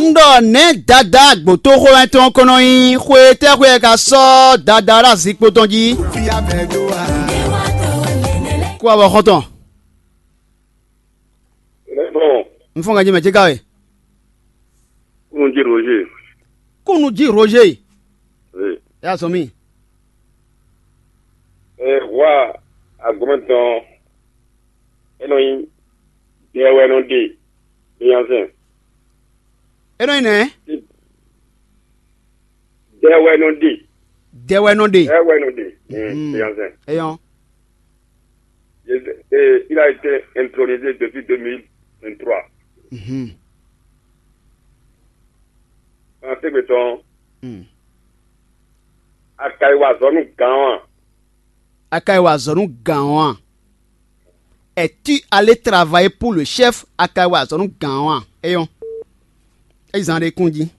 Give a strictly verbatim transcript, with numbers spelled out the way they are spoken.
Un ɖɔ nɛ̌ Dadá gbǒtóxwé tɔn ko nɔ nyí? Xwe tɛ́ xwe ka sɔ́ Dadá ɖo azikpo tɔn jí? Kú avɔ xɔ́ntɔn. Bon, Un fɔ́n ganjí mɛ ce ka we. Kúnnují Roger. Kúnnují Roger. Oui. Yá zɔn mì. Ɛ hwa agɔmɛtɔn, é nɔ nyí dɛ wɛ nɔ ɖe nyanzɛn. É nɔ nyí nɛ̌? Dɛ wɛ nɔ ɖe. Dɛ wɛ nɔ ɖe. Dɛ wɛ nɔ ɖe. Mm. Nyanzɛn. Eyɔn. Il a été intronisé depuis deux mille vingt-trois. Mhm. Français béton. Mm. Akaiwa zɔnu gan. Akaiwa zɔnu gan. Es-tu allé travailler pour le chef? Akaiwa zɔnu gan. Eyɔn. Ezan ɖe kún jí.